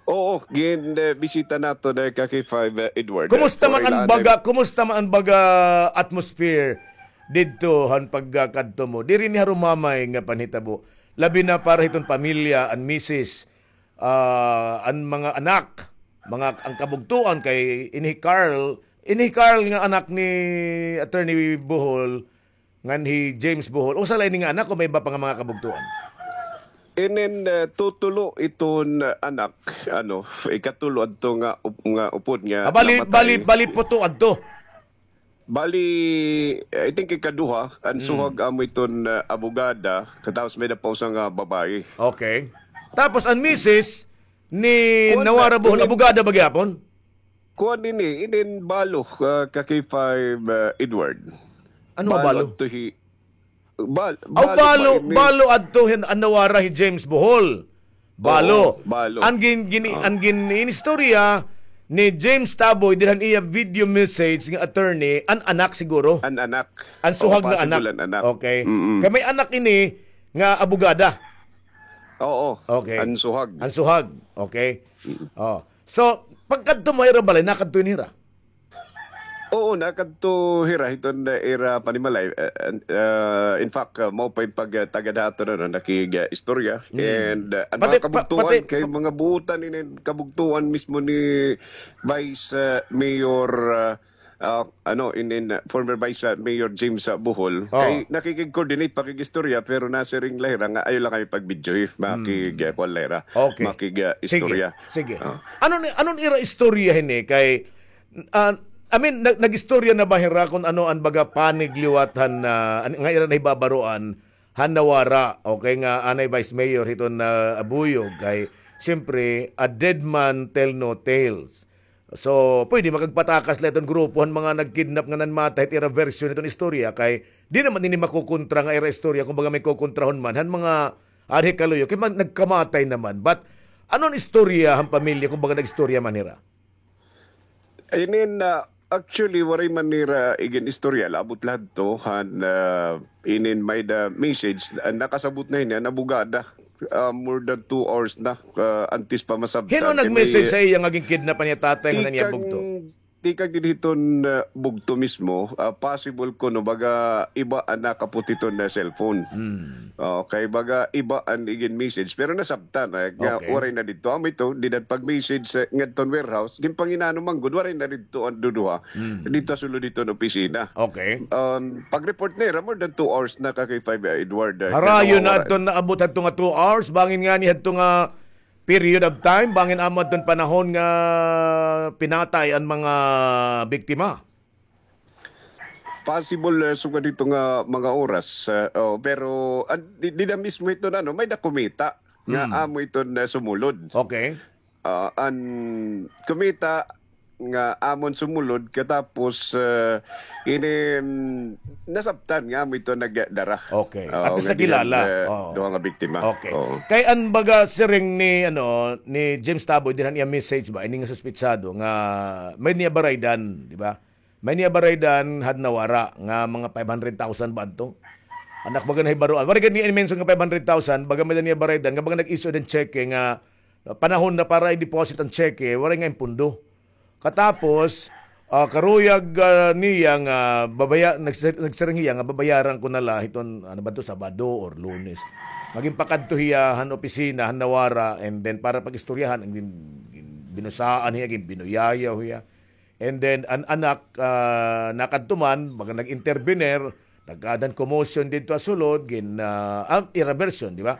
Oo, gin, eh, bisita naton, eh, ka K five, eh, Edward. Kumusta man an baga, kumusta man an baga atmosphere didto han pagkakadto mo? Diri ni harumamay nga panhitabo. Labi na para hiton pamilya, an misis, ah, an mga anak, mga, an kabugtoan kay ini hi Carl, ini hi Carl nga anak ni Attorney Bohol, ngan hi James Bohol. Usa la ini nga anak o may iba pa nga mga kabugtoan? Inin, eh, tutulo iton, eh, anak, ano, ikatulo adto nga up-, nga upod nga namatay. Ah, bali, bali, bali puto adto. Bali, I think ikaduha, an suhag amo iton, eh, abogada, katapos may-ada pa usa nga babae. Okay. Tapos an misis ni Nawara Bohol, abogada ba gihapon? Kuan ini, inin balo, ah, ka K five, ah, Edward. Ano nga balo? Adto hi, bal-, aw, balo, balo adto hin, an nawara hi James Bohol. Balo. Oo, balo. An gin-, gini-, an gin-, inistorya ni James Taboy, didto han iya video message nga attorney, an anak siguro. An anak. An suhag nga anak. Oo, possible an anak. Okay. Mm-mm. Kay may anak ini nga abogada. Oo. Okay. An suhag. An suhag. Okay. Mm. Oh. So, pagkadto mo ha ira balay, nakadto ini hira? Oo, nakadto hira hiton ira panimalay. Eh, eh, in fact, ah, mao pa in pagtagad ha aton, ano, nakig, ah, istorya. Mm. And, ah, an mga kabugtoan, kay mga buotan ini kabugtoan mismo ni Vice, ah, Mayor, ah, ah, ano, in, in, ah, former Vice, ah, Mayor James, ah, Bohol. Oh. Kay nakikig-coordinate, pakig-istorya, pero nasiring la hira nga ayaw la kami pag-video, eh, makig, ah, kuan la hira, makig, ah, istorya. Sige, sige. Ah. Ano ni, ano an ira istorya hini? Kay, ah, I mean, nag-, nag-istorya na ba hira kon ano an baga panig liwat han, ah, an, nga ira nahibabaroan han nawara, okay, nga anay Vice Mayor hiton, ah, Abuyog? Kay, siyempre, a dead man tell no tales. So, pwede makagpatakas la iton grupo han mga nagkidnap nga nanmatay hit ira version hiton istorya, kay di naman ini makukontra nga ira istorya, kumbaga may kukontrahon man han mga anhi kaluyo, kay man-, nagkamatay naman. But, ano an istorya han pamilya, kumbaga nag-istorya man hira? Inin, ah, actually, waray man nira igin-istorya, labot la hadto han, ah, inin may-ada message, ah, nakasabot na hini an abogada. Ah, more than two hours na, ah, antes pa masabtan. Hin-o nag-message ha iya nga ginkidnap an iya tatay ngan an iya bugto? Tikang didto hiton, ah, bugto mismo, ah, possible kuno baga iba an nakapot hiton cellphone. Hmm. Okay, baga iba an igin-message. Pero nasabtan, ah, nga waray na didto. Amo ito, dida pag-message, ah, ngadton warehouse, ginpanginano man gud, waray na didto an duduha. Hmm. Didto ha sulod hiton opisina. Okay. Um, pag-report nira, more than two hours na ka K five, ah, Edward, ah, harayo na adto, naabot adto nga two hours, bangin ngani hadto nga period of time, bangin amo adton panahon nga pinatay an mga biktima? Possible, eh, sugad hito nga mga oras, eh, oh, pero, ah, di, dida mismo hiton, ano, may-ada kumita nga amo hiton, eh, sumulod. Okay. Ah, an kumita nga amon sumulod, katapos, eh, ini, mm, nasabtan nga amo ito nagdara. Okay. At least nakilala. Duha nga biktima. Okay. Oo. Kay an baga siring ni, ano, ni James Taboy, dida han iya message ba, ini nga suspetsado nga may-ada niya baraydan, di ba? May-ada niya baraydan han nawara nga mga five hundred thousand ba adto? An ak baga nahibaroan. Waray gad niya i-mention nga five hundred thousand, baga may-ada niya baraydan, nga baga nag-issue hin cheque nga panahon na para i-deposit an cheque, waray ngay-an pondo. Katapos, ah, karuyag, ah, niya nga babaya-, nagsi-, nagsiring hiya nga babayaran ko na la hiton, ano ba to, Sabado or Lunes. Nga ginpakadto hiya han opisina han nawara, and then para pag-istoryahan, gin-, gin-, binusaan hiya, ginbinuyayaw hiya. And then, an anak, ah, nakadto man, baga nag-intervener, nagkaadan commotion didto ha sulod, gin, ah, ah, ira version, di ba?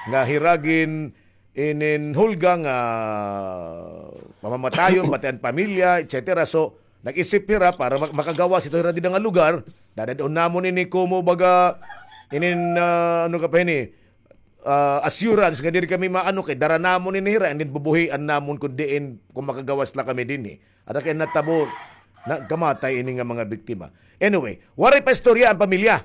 Nga hira gin-, ininhulga nga pamamatayon, pati an pamilya, et cetera. So, nag-isip hira para mak-, makagawas ito hira dida nga lugar, dadad-on namon ini komo baga, inin, ah, ano ka pa ini, ah, assurance nga diri kami maano kay dara namon ini hira, and then bubuhian namon kun diin, kun makagawas la kami dinhi. Ada kay natabo, nagkamatay ini nga mga biktima. Anyway, waray pa istorya an pamilya.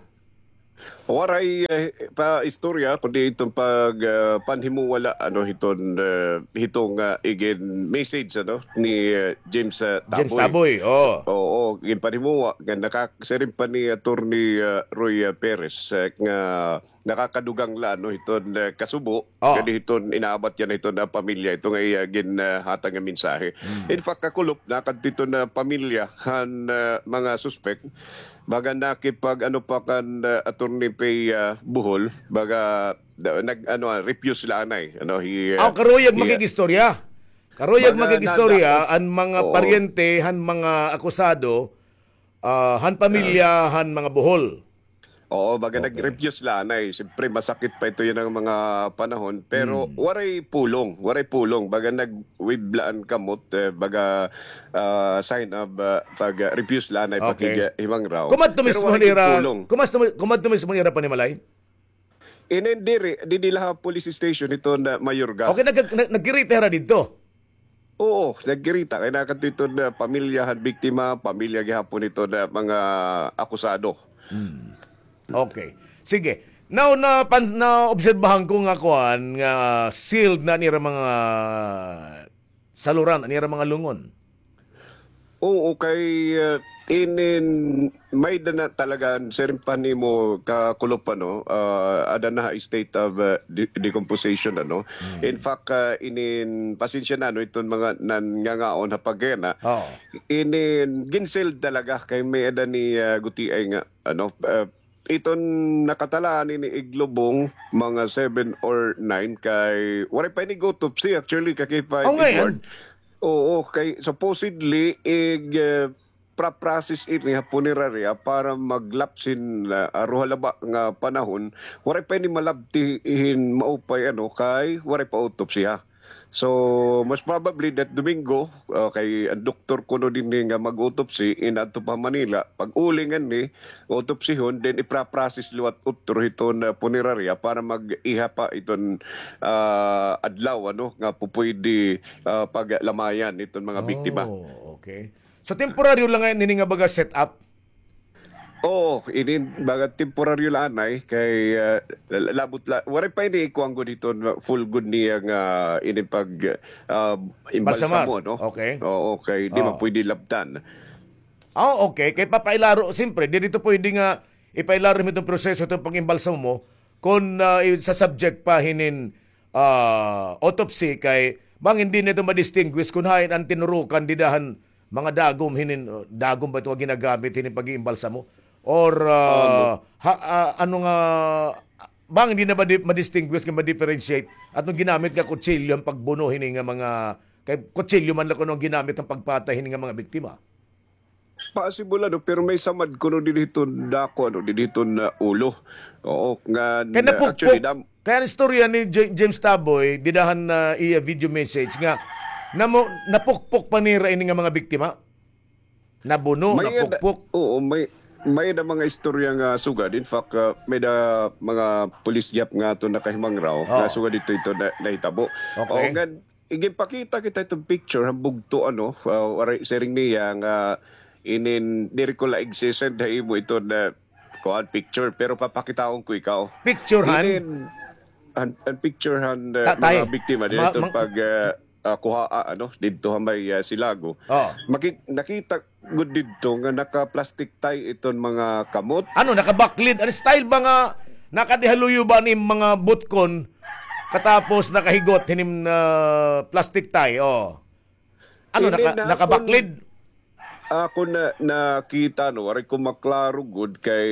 Waray, eh, pa istorya, kundi iton pag, ah, panhimuwa la, ano, hiton, eh, hitong, ah, igin message, ano, ni, eh, James, ah, James Taboy. Taboy, oo. Oo, ginpanhimuwa nga nakak-, siring pa ni Attorney, ah, Roy, ah, Perez, eh, nga nakakadugang la, ano, hiton, eh, kasubo, oh, kadi hiton inaabat yana hiton, ah, pamilya, ito nga iya gin, ah, hatag nga mensahe. Mm. In fact, kakulop, nakadto iton, ah, pamilya han, ah, mga suspek, baga nakipag, ano pa kan, ah, Attorney Pay, ah, Bohol, baga, da-, nag, ano, ah, refuse la anay, ano, hi, ah, aw, karuyag hi, ah, makig-istorya. Karuyag baga makig-istorya, nanda-, an mga, oo, paryente han mga akusado, ah, han pamilya, ah, han mga Bohol. Oo, baga, okay, nag-refuse la anay. Siyempre, masakit pa ito yana nga mga panahon. Pero, hmm, waray pulong, waray pulong. Baga nag-wave la an kamot, eh, baga, ah, sign of, ah, pag, ah, refuse la anay, okay, pakig-, ah, himangraw. Kumadto mismo nira, kumadto, kumadto mismo nira panimalay? Inin diri, didi la ha police station ito na Mayorga. Okay, nag-, nag-, nagkirita hira didto? Oo, nagkirita. Kay nakadto iton pamilya han biktima, pamilya gihapon iton mga akusado. Hmm. Okay. Sige. Now, napan-, naobserbahan ko nga kuan, nga sealed na an ira mga saluran, an ira mga lungon. Oo, kay, ah, inin, may-ada na talaga, siring pa nimo kakulop, ano, ah, ada na ha state of, ah, de-, decomposition, ano. Hmm. In fact, ah, inin, pasensya na, ano, iton mga nangangaon ha pagkayana. Oo. Inin, gin-sealed talaga kay may-ada ni, ah, gutiay nga, ano, ah, iton nakatalaan ini iglubong mga seven or nine kay waray pa ini autopsy actually, Kakipay, oh, Edward. Oo, kay supposedly ig, eh, pra-process ini ha punerarya para maglapse hin, ah, aruha la ba nga panahon, waray pa ini malabti hin maupay, ano, kay waray pa autopsy, ha. So, most probably that Domingo, ah, kay an doktor kuno dinhi nga mag-autopsy, in-adto pa Manila, pag-uli nganhi, autopsyhon, then ipra-process liwat utro hiton, ah, punerarya para mag-iha pa iton, ah, adlaw, ano, nga pupwede, ah, paglamayan iton mga biktima. Oh, okay. So, temporaryo la ngay-an ini nga baga set up? Oo, ini baga temporaryo la anay kay, ah, la-, labot la, waray pa ini kuan gud hiton full gud niya nga ini pag, ah, imbalsamo, no? Balsamar. Okay. Oo, kay di man pwede labtan. Ah, okay. Kay papailaro, siyempre, diri ito pwede nga ipailaro himo iton proseso iton pag-imbalsamo kon, ah, i-, sa subject pa hinin, ah, autopsy kay bangin diri na ito ma-distinguish kon hain an tinurukan dida han mga dagom hinin, uh, dagom ba ito nga ginagamit hinin pag-iimbalsamo? Or, uh, ha, uh, ano nga, bangin diri na ma-di-, ma-distinguish nga ma-differentiate aton ginamit nga kutsilyo han pagbuno hini nga mga, kay kutsilyo man la kuno an ginamit han pagpatay hini nga mga biktima? Possible, ano, pero may samad kuno didi hiton dako, ano, didi hiton, uh, ulo. Oo, nga, kay napukpok, actually, dam- Kay an istorya ni J-, James Taboy, dida han, ah, iya video message nga, namo-, napukpok pa nira ini nga mga biktima? Nabuno, napukpok? Oo, may, may-ada mga istorya nga sugad. In fact, ah, may-ada mga pulis gihap nga aton nakahimangraw nga sugad didto ito na, nahitabo. Okay. Oo, nga, iginpakita kita iton picture, han bugto, ano, ah, waray, siring niya nga inin, diri ko la igsi-send ha imo iton kuan, picture, pero papakitaon ko ikaw. Picture han? Inin, an, an picture han, uh, mga biktima didto pag, uh, uh, kuhaa, ano, didto ha may, uh, Silago. Oh. Maki-, nakita gud didto nga naka-plastic tie iton mga kamot. Ano, nakabaklid? An style ba nga nakadihaluyo ba ni mga butkon katapos nakahigot hining, uh, plastic tie? Oh. Ano, naka-, nakabaklid? Ako na, nakita, no, waray ko maklaro gud kay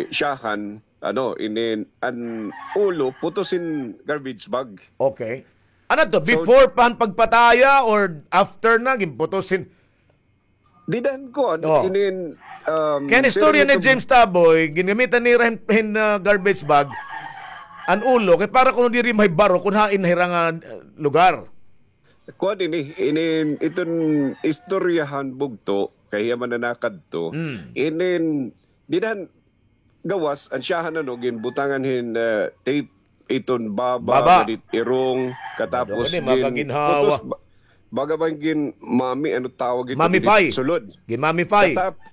siyahan, ano, inin, an ulo, putos hin garbage bag. Okay. Ano to, before pa han pagpataya or after na, ginputos hin? Dida han kuan, oh, inin, um, kay an istorya ni James Taboy, ginamitan nira hin, hin, ah, garbage bag, an ulo, kay para kuno diri mahibaro kun hain na hira nga, ah, lugar. Kuan ini, inin, iton istorya han bugto, kay hiya man nanakadto. Mm. Inin, dida han gawas, an siyahan, ano, ginbutangan hin, ah, tape, iton baba, baba, nga didi irong, katapos gin-, putos, ba-, baga bang gin-, mami, ano tawag ito, sulod. Ginmamify. Katap-,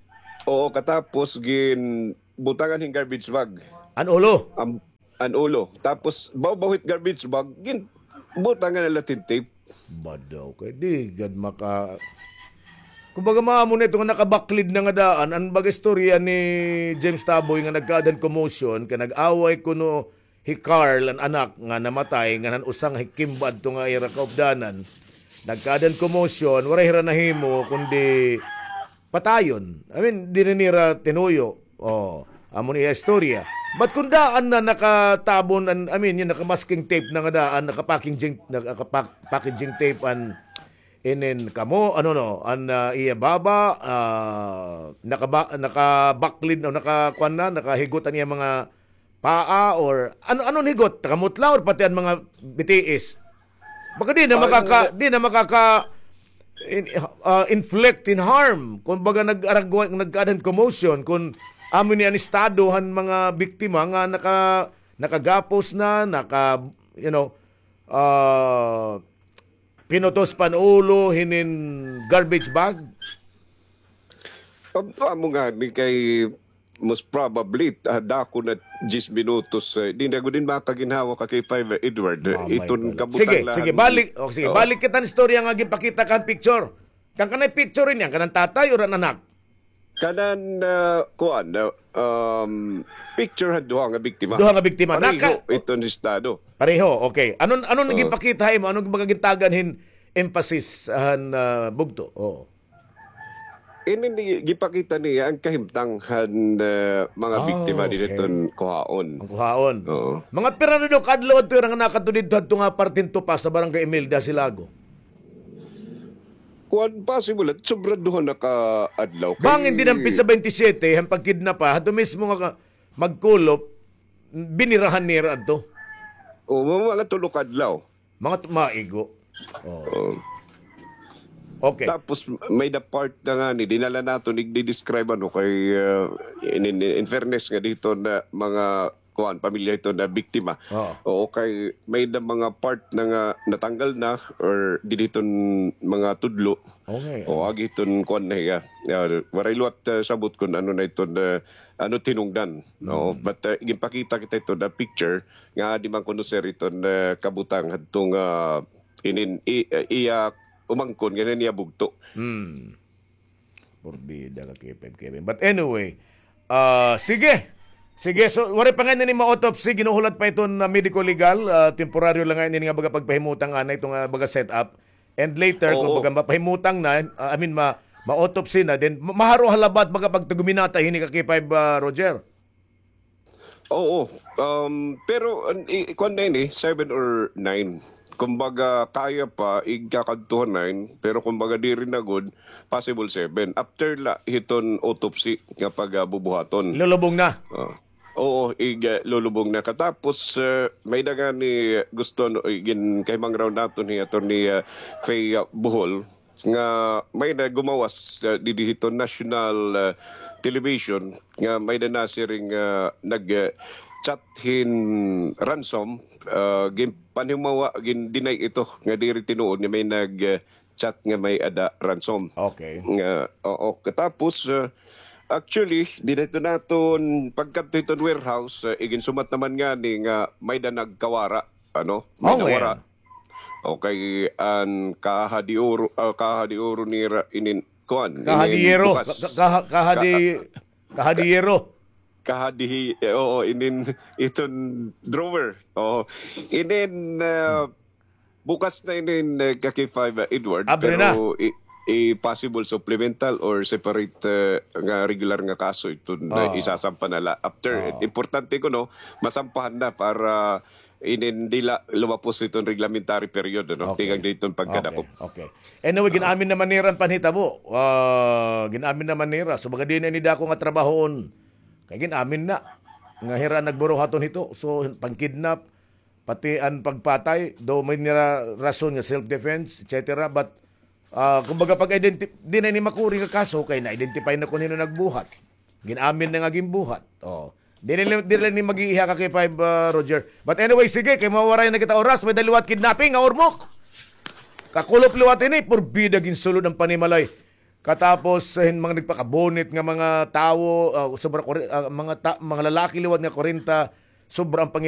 oo, katapos ginbutangan hin garbage bag. An ulo? An, an ulo. Tapos, bawbaw hit garbage bag, ginbutangan na la hin tape. Badaw kay di gad maka-, kumbaga, maamo na ito nga nakabaklid na nga daan. An baga istorya ni James Taboy nga nagkaada hin commotion, kay nag-away kuno hi Carl, an anak nga namatay, ngan han usa nga hikimba adto nga ira kaupdanan. Nagkaada hin commotion, waray hira nahimo kundi patayon. I mean, diri nira tinuyo. Oh, amo ni iya istorya. But kun daan na nakatabon, an, I mean, yun, naka-masking tape na nga daan, naka-packaging, naka-pack-, packaging tape an inin kamo, ano, no, an, ah, iya baba, ah, nakaba-, nakabaklid, no, nakakuan na, nakahigot an iya mga paa or ano, ano an higot? Takamutla or pati an mga bitiis? Baka di na makaka-, di na makaka-, in-, ah, inflict in harm. Kung baga nag-aragwa, nagkaada hin commotion, kung amo ni an estado han mga biktima nga naka-, nakagapos na, naka, you know, ah, pinutos pa an ulo hinin garbage bag. Amo ngani kay most probably, ah, dako na diyes minutos, eh, di na gud in makaginhawa, Ka K five, eh, Edward, eh, iton kabutang. Sige, sige, balik, o, sige, balik kita han istorya nga ginpakita kan picture. Kan kanay picture ini, an kanan tatay o an anak? Kanan, ah, kuan, ah, um, picture han duha nga biktima. Duha nga biktima. Pareho iton estado. Pareho, okay. Anon, anon ginpakita ha imo? Anon baga gintagan hin emphasis han, ah, bugto? Oo. Ini ni, gipakita niya an kahimtang han, eh, mga biktima didi hiton kuhaon. An kuhaon. Oo. Mga pira na daw ka adlaw adto ira nga nakadto didto hadto nga parte hin Topas ha Barangay Imelda, Silago? Kuan, possible, sobra duha na ka adlaw. Bangin didi han petsa baynte siyete, han pagkidnap, ha, hadto mismo nga ka-, magkulop, binirahan nira adto. O, mga, mga tulo ka adlaw. Mga tu-, maigo. Oo. Okay. Tapos, may-ada part na ngani, dinala naton, igdi-describe, ano, kay, uh, in, in, in fairness nga didto na mga, kuan, pamilya hiton na biktima. Oo. Oo, kay may-ada mga part na nga natanggal na or didi hiton mga tudlo. Okay. O, agi hiton kuan na hiya. Ah, waray liwat, ah, sabot kun ano na iton, ah, ano it hinungdan, no? Mm. But, ah, ginpakita kita iton, ah, picture nga adi man kuno, sir, iton, ah, kabutang hadto nga, ah, inin, i-, ah, iya umangkon nga niya bugto. Mm. Porbida, Ka K five Kevin. But anyway, ah, sige. Sige, so, waray pa ngay-an ini ma-autopsy, ginhuhulat pa iton, ah, medico legal, ah, temporaryo la ngay-an ini nga baga pagpahimutang anay, iton nga baga setup. And later, kun baga mapahimutang na, ah, I mean, ma-, ma-autopsy na, then ma-, maharo ha labat baga pagtaguminatay hini, Ka K five, ah, Roger. Oo, um, pero, an-, i-, kuan na ini, seven or nine. Kumbaga, kaya pa, igkakadto ha nine, pero kumbaga, diri na gud, possible seven. After la hiton autopsy nga pagabubuhaton. Lulubong na. Ah. Oo, ig-, ah, lulubong na. Katapos, ah, may-ada ngani gusto, no, igin-, kahimangaraw naton hi Attorney, ah, Faye, ah, Bohol, nga may-ada gumawas, ah, didi hiton national, ah, television nga may-ada nasiring, ah, nag, ah, chat hin ransom, ah, ginpanhimawa, gin-deny ito nga diri tinuod nga may nag, ah, chat nga may-ada ransom. Okay. Nga, oo. Katapos, ah, actually, didi hiton naton pagkadto hiton warehouse, ah, iginsumat naman ngani nga may-ada nagkawara, ano? May nawara. Okay, an kahadiuro, ah, kahadiuro nira inin, kuan, kahadiyero. Bukas. Ka-, ka-, kahadi-, kahadiyero. Kahadihi-, eh, oo, inin iton drawer. Oo. Inin, ah, bukas na inin, eh, Ka K five, ah, Edward. Abre na. Pero i-, i-possible supplemental or separate, eh, nga regular nga kaso iton, eh, isasampa na la. After, eh, importante kuno, masampahan na para inin dila lumapos hiton reglementary period, no? Okay. Tikang diton pagkadakop. Okay. Anyway, gin-amin naman nira an panhitabo. Gin-amin naman nira. So, baga diri na ini dako nga trabahoon. Kay gin-amin na nga hira nagburuhaton hito. So, pangkidnap, pati an pagpatay, do may nira rason nga self-defense, et cetera. But, kumbaga, pag-identi-, di na ini makuri nga kaso, kay na-identify na kun hin-o nagbuhat. Gin-amin na nga ginbuhat. Oh. Diri, diri ni mag-iiha ka kay five, Roger. But anyway, sige, kay mawaray na kita oras, may-ada liwat kidnapping nga urmok. Kakulop liwat ini, purbida ginsulod an panimalay. Katapos, hin mga nagpakabunit nga mga tawo, sobra, mga lalaki liwat nga kwarenta, sobra an pangid-